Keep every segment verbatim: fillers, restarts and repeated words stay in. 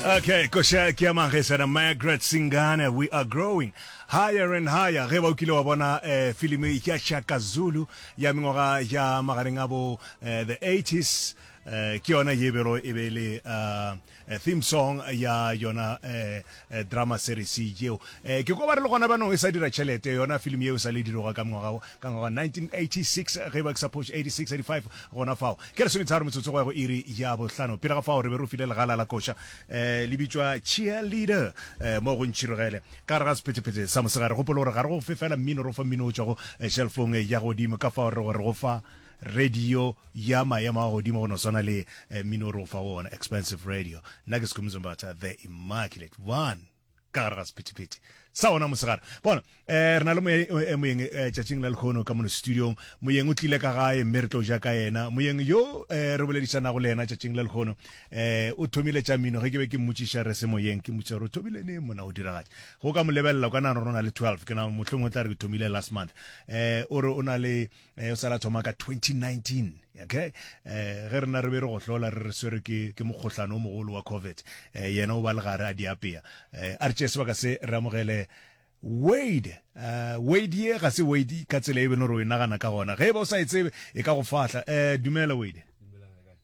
Okay, koša ke ya Magesana Margaret Singane, we are growing higher and higher. Ge ba o kile wa bona eh, filimi ya Shaka Zulu ya mengwaga ya magareng a bo eh, the eighties, eh, ke yona ye bero e be le uh, theme song ya yona eh, eh, drama series yeo. Eh, ke ko ba re le gona banong e sa dira tšhelete yona filimi yeo e sa le diroga ka mengwaga ka ngwaga nineteen eighty-six, ge ba ke suppose eighty-six eighty-five gona fao. Ke lesometharo metsotso go ya go iri ya bohlano. Pele ga fao re be re o file legala la koša eh, le bitšwa Cheerleader eh, mo go ntšhirogele ka gare ga sephethephethe sa mosegare. Gopola gore ga re go fe fela mmino, re go fa mmino o tšwago eh, shelfong ya godimo, ka fao re go re go fa radio ya maemo a godimo go no swana le eh, mmino re go fa wona expensive radio. Nna ke Skhumbuzo Mbatha, the immaculate one, ka gare ga sephethephethe sa ona mosegare. Bona eh, re na le moyeng eh, tšatšing la lekgono ka mono studiong. Moyeng o tlile ka gae mme re tlo ja ka yena. Moyeng yo eh, re boledišanago le yena tšatšing la lekgono eh, o thomile tša mmino. Ge ke be ke mmotšiša re se moyeng, ke mmotšiša gore o thomile neng mona o diragatša, go ka mo lebelela o ka nagana gore o na le twelve, ke na mohlomongwe o tla re ke thomile last month. Eh, o re o na le eh, o sala thoma ka twenty nineteen. Okay, eh, ge rena re be re go hlola re re swere ke ke mokgohlano o mogolo wa COVID, eh, yena o ba le gare a di apea. Eh, a re tšee sebaka se re amogele Wade. Uh, Wade ye ga se Wade ka tsela e beno re o e nagana ka gona. Ge e ba o sa e tsebe e ka go fahla. Eh, dumela Wade.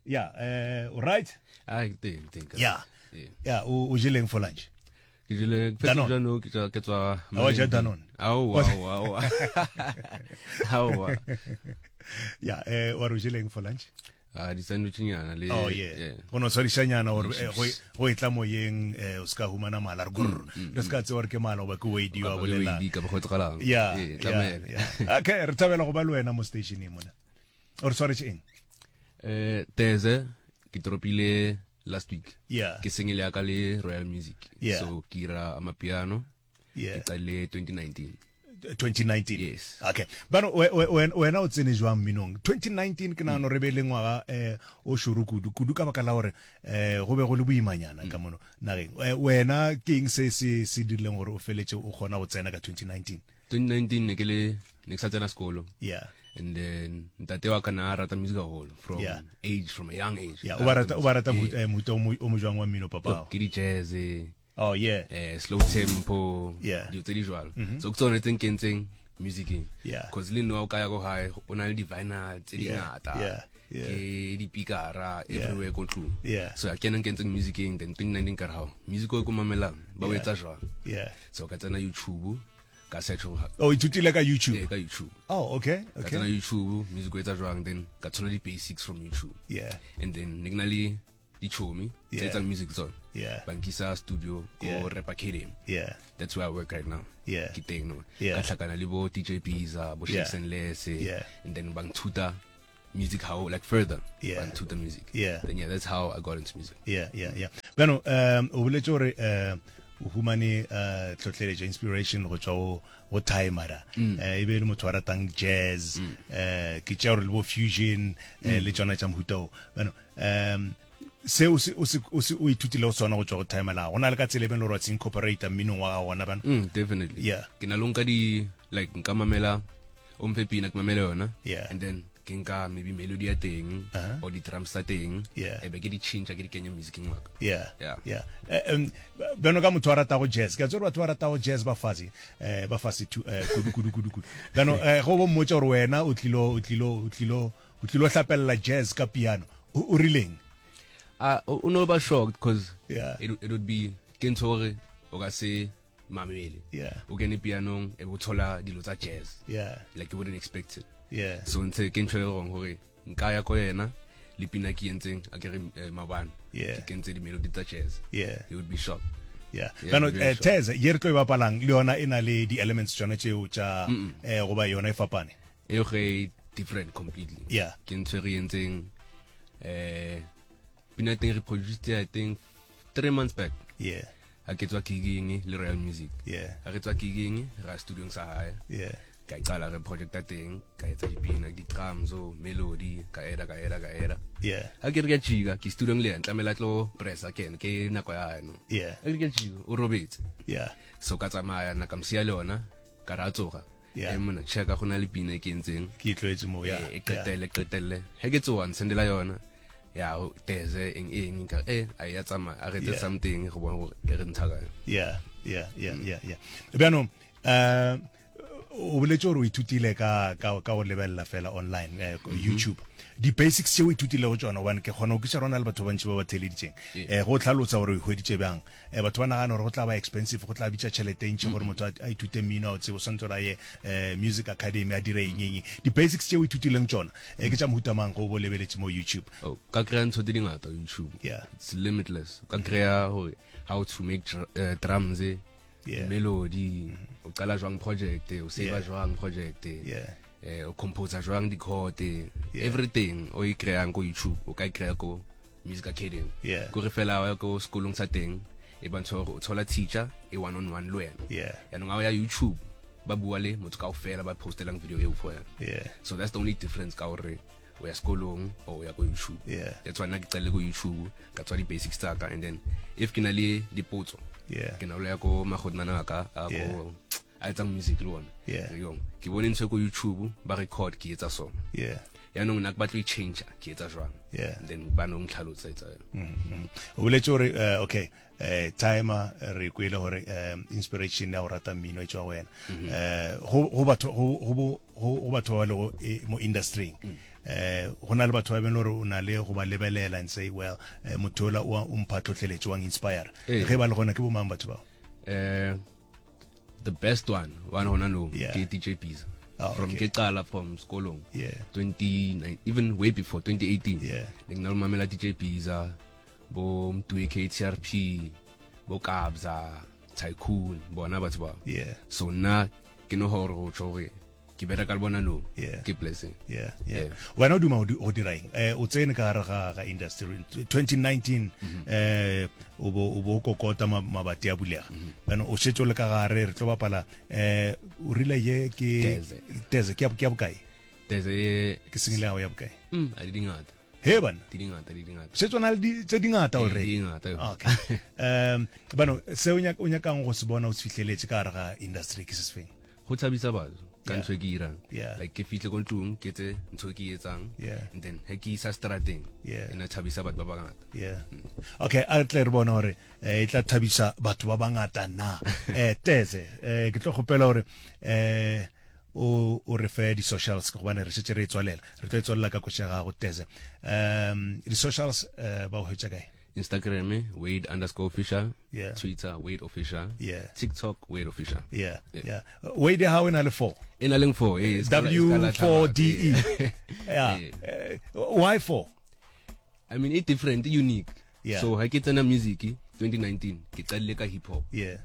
Ya, eh, o right? Ah, teng teng. Ya. Ya, o o jeleng for lunch? Ke jele Danone. fetsa ke tswa ke tswa A wa ja Danone? Aowa, aowa, aowa. Aowa. Ya, eh, wa re o jeleng for lunch? Ah, di sandwich nyana le. Oh yeah. Go no tshwarišanyana gore eh, go go e tla moyeng eh, o ska humana mala re grrr. Re ska tseba gore ke mala goba ke Wade yo a bolelang. Wade ka ba go tsagalang. Ya, Eh, ya, tlamela. ya. Okay, re thabela go ba le wena mo stationeng mona. O re tshwaretše eng? Eh, Teze ke tropile last week. Yeah. Ke single ya ka le Royal Music. Yeah. So ke ira amapiano. Yeah. Ke qale twenty nineteen. twenty nineteen. Yes. Okay. Bano wena o tsene jwang mminong? twenty nineteen ke nagana re be le ngwaga eh o šoro kudu kudu ka baka la gore eh go be go le boimanyana ka mono nageng. Wena ke eng se se se dirileng gore o feletse o kgona go tsena ka twenty nineteen? twenty nineteen ne ke le ne ke sa tsena sekolo. Yeah. And then ntate wa ka na a rata music haholo from Yeah. age, from a young age. Yeah, o ba rata o ba rata mohuta o mo jwang wa mmino papa? Ke di jazz. Oh yeah. Eh, slow tempo. Yeah. Dilo tse di jwalo. Mm-hmm. So ke tsone tse nkentseng musicing. Yeah. Cause le nna o ka ya ko gae o na le di vinyl tse di Yeah. ngata. Yeah. Yeah. Ke di pikara Yeah. everywhere ko ntlong. Yeah. So a kena nkentseng musicing, then twenty nineteen ka re hao music o ko mamelang ba o Yeah. etsa jwang. Yeah. So ka tsena YouTube ka search go Oh, ithutile ka YouTube. Eh, ka YouTube. Oh, okay. Ka Okay. tsena YouTube music o etsa jwang, then ka tshola di basics from YouTube. Yeah. And then ne ke na le dichomi tse Yeah. etsang music tsone. Yeah. Ba nkisa studio ko Yeah. Rap Academy. Yeah. That's where I work right now. Yeah. Ke teng no. Yeah. Ka hlakana le bo D J Biza, bo Yeah. Shakes and Less. Yeah. And then ba nthuta music how like further. Yeah. Ba nthuta music. Yeah. Then yeah, that's how I got into music. Yeah, yeah, yeah. Bano, um o boletse gore um o humane uh tlhotlheletso inspiration go tswa go go Timera. Eh e be le motho wa ratang jazz, eh ke tša gore le bo fusion eh le tsona tša mohuta o. Bano, um se o se o se o se o ithutile go sona go tswa go Timera. Go na le ka tsela e beng le gore wa se incorporate mminong wa gago gona bano. Mm, definitely. Yeah. Ke na le nka di like nka mamela o mphe pina ke mamele yona. Yeah. And then ke nka maybe melody ya teng Uh-huh. or di drums tsa teng. Yeah. E be ke di change ke di kenye musicing wa ka. Yeah. Yeah. Yeah. Eh, um beno ka motho a ratago jazz. Ke a tseba gore batho ba ratago jazz ba fase eh ba fase tu eh kudu kudu kudu kudu. Beno eh go bo mmotsa gore wena o tlilo o tlilo o tlilo o tlilo hlapella jazz ka piano. O o rileng? Ah, o o no ba shocked because Yeah. it it would be ke ntho hore o ka se mamele. Yeah. O kene pianong e bo thola dilo tsa jazz. Yeah. Like you wouldn't expect it. Yeah. So ntse ke ntho e wrong hore nka ya ko yena le pina ke entseng a ke re eh, mabane. Yeah. Ke kentse di melody tsa jazz. Yeah. He would be shocked. Yeah. Yeah, Bano very eh shocked. Tez ye re tlo e bapalang le yona e na le di elements tsona tšeo tša eh goba yona e fapane. E ge different completely. Yeah. Ke ntho e re entseng eh pina teng re produced I think three months back. Yeah. Ha ke tswa gigging le Royal Music. Yeah. Ha re tswa gigging ra studiong sa hae. Yeah. Ka qala re projecta teng, ka etsa dipina, di-drums, oh, melody, ka eda, ka eda, ka eda. Yeah. Ha ke re ke a jika, ke studiong le yena, tlamehile a tlo pressa ke ena, ke nako ya hae no. Yeah. Ha ke re ke a jika, o robetse. Yeah. So ka tsamaya nna ka mo siya le yona, ka re a tsoga. Yeah. Eh, monna, check-a go na le pina e ke entseng. Ke e tlwaetse mo, yeah. Eh, e qetelle, qetelle. Ha ke tsoha, nsendela yona. Ya teze eng eng ka eh a ya tsamaya a re etse Yeah. something go bona gore e re ntsha kae. Yeah, yeah, yeah, yeah, yeah. Bjanong eh o boletse gore o ithutile ka ka ka go lebelela fela online eh, YouTube. Di basics tse o ithutilego tšona gobane ke kgona go kwešiša rona le batho ba bantši ba ba theeleditšeng. Eh go tlhalosa gore o ihweditše bjang. Eh batho ba nagana gore go tla ba expensive, go tla bitša tšhelete e ntši gore motho a a ithute mmino a o tsebe o swantse gore a ye eh music academy a dire eng eng. Di basics tse o ithutileng tšona eh ke tša mohuta mang go bo lebeletše mo YouTube. Oh, ka kry-a ntho tse dingata YouTube. Yeah. It's limitless. O ka kry-a gore how to make dr uh, drums, Yeah. melody, o qala jwang project, o save Yeah. jwang project, Yeah. eh o compose jwang di-chord, Yeah. everything o e kry-ang ko YouTube, o ka e kry-a ko Music Academy. Yeah. Kore fela wa ya ko sekolong sa teng, e bontsha gore o thola teacher e one on one le wena. Yeah. Yaanong ha o ya YouTube, ba bua le motho kaofela ba postelang video eo for wena. Yeah. So that's the only difference ka gore o ya sekolong or o ya ko YouTube. Yeah. That's why nna ke qalile ko YouTube, ka tswa di-basics tsa ka and then if ke na le dipotso, Yeah. ke na le ya ko magodimana a ka a Yeah. ko a etsang music le ona. Yeah. Re yong, ke bone ntho e ko YouTube ba record ke etsa so. Yeah. Yaanong nna ke batla ho e change ke etsa jwang. Yeah. And then ba no ntlhalosetsa yona. O boletse gore eh, okay eh timer re kwele gore um inspiration ya go rata mmino e tswa go wena eh go go batho go go bo- go go batho ba lego e- mo industry eh go na le batho ba beng gore o na le go ba lebelela and say well eh, motho ola o a- o mpha tlhotlheletso wa inspire Ee. ge ba le gona ke bo mang batho bao Eh the best one one hona no Yeah. ke D J Pizza. Oh, From okay. ke qala from sekolong. Yeah. twenty nine even way before twenty eighteen. Yeah. Ne ke na le mamela D J Pizza, bo Mtwe K T R P, bo Kabza, Tycoon, bona batho ba. Yeah. So nna ke no gore go tjho gore ke bereka le bona no. Yeah. Ke blessing. Yeah, yeah. Yeah. Wena o duma go di- go dira eng? Eh o tsene ka gare ga ga industry twenty nineteen eh o bo o bo kokota ma- mabati a bulega. Bana o shetse o le ka gare re tlo bapala eh o rile ye ke Teze. Teze ke ya ke ya bokae? Teze e Ke sengile ya ya bokae? mm a di dingata. He bana. Di dingata, di dingata. Setse o na le di- tse dingata Eh, already. di dingata. Okay. Um bano se o nyaka o nyakang go se bona o se fihleletse ka gare ga industry ke se se feng? Go thabisa batho ka Yeah. ntho e ke irang. Yeah. Like ke fihle ko ntlong ke etse ntho e ke e etsang. Yeah. And then he ke isa strateng. Yeah. E na thabisa batho ba bangata. Yeah. Okay, a tle re bone gore eh, e tla thabisa batho ba bangata na. Eh Teze, eh ke tlo kgopela gore eh o o re fe di socials gobane re šetše re e tswalela. Re tlo e tswalela ka koša ya gago Teze. Um di socials eh ba o hwetša kae? Instagram Wade underscore official. Yeah. Twitter Wade official. Yeah. TikTok Wade official. Yeah. Yeah. Yeah. Wade ha o na le four. E na leng four, eh, e ska la- e ska W la four D E. tlhama. Yeah. Eh. Eh, why four? I mean, it different, unique. Yeah. So ha ke tsena music twenty nineteen, ke qadile ka hip hop. Yeah.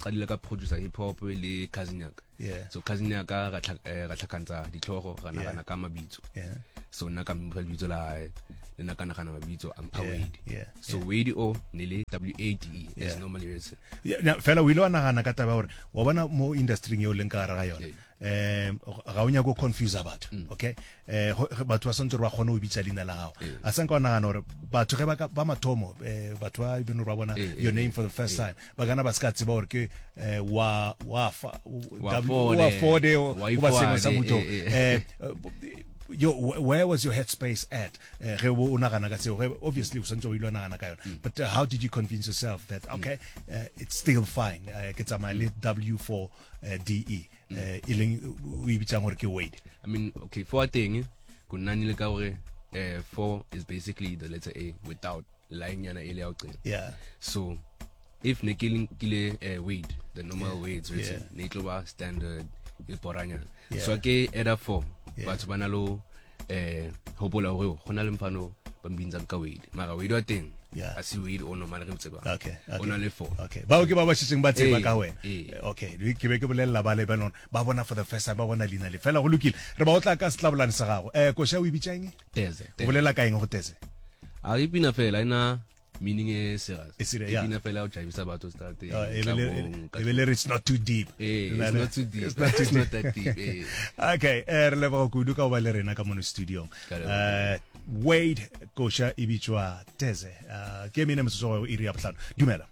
Qadile ka producer hip hop le cousin ya ka. Yeah. So cousin ya ka ra tlha- eh, ra tlhakantsa ditlhogo, ra Yeah. nagana ka mabitso. Yeah. So nna ka mpha lebitso la hae, le nna ka nagana mabitso a mpha Yeah, Wade. yeah, So Wade o ne le W A D E as Yeah. normally written. Yeah, na, fela o ile wa nagana ka taba ya gore wa bona mo industryng eo leng ka gare ga yona um ga o nyake go confuse batho okay eh go- ge batho ba santse gore ba kgone go bitsa leina la gago a sanka wa nagana gore batho ge ba ka- ba mathomo eh, batho ba even ba bona Eh, your name for the first time ba kana ba se ka tseba gore ke eh, wa wa fa Wa W- Forde, wa Forde o- wa goba sengwe sa Ifwade, motho eh, eh. eh yo wh- where was your headspace at eh ge o nagana ka seo ge obviously o santse o ile wa nagana ka yona but uh, how did you convince yourself that okay uh, it's still fine uh, ke tsamaya le W four uh, D E eh e leng o e bitsang gore ke Wade I mean, okay, four thing, go nna le ka hore eh four is basically the letter A without line yana e le ya ho qeta. yeah So if ne ke le kile eh Wade, the normal yeah. Wade's written, Yeah. ne e tlo ba standard e boranyana. Yeah. So ke add up four. Yeah. Batho ba na lo eh hopola hore go na le mfano ba mbintsang ka Wade. Mara Wade wa teng Yeah. a se Wade o normal re mo tsebang. okay O okay na le four. okay bao ke ba ba šetseng ba tseba Eh, ka wena eh. okay ke be ke bolelela ba le ba lona ba bona for the first time ba bona leina le fela go lokile re ba otla ka setlabolane sa gago eh koša o e bitsa eng Teze. o bolela ka eng go Teze A e pina fela ina meaning e serious. E serious, E yeah. pina fela o jaivisa batho strateng. Uh, e be le- tlabong, ka e be le re it's not too deep Eh, Na it's le- not too deep. It's not too It's deep. not that deep, eh. Okay, eh, re leboga kudu ka go ba le rena ka mono studiong. Ka leboga. Eh, Wade koša e bitšwa Teze. Eh, ke mene metsotso go iri ya bohlano. Dumela.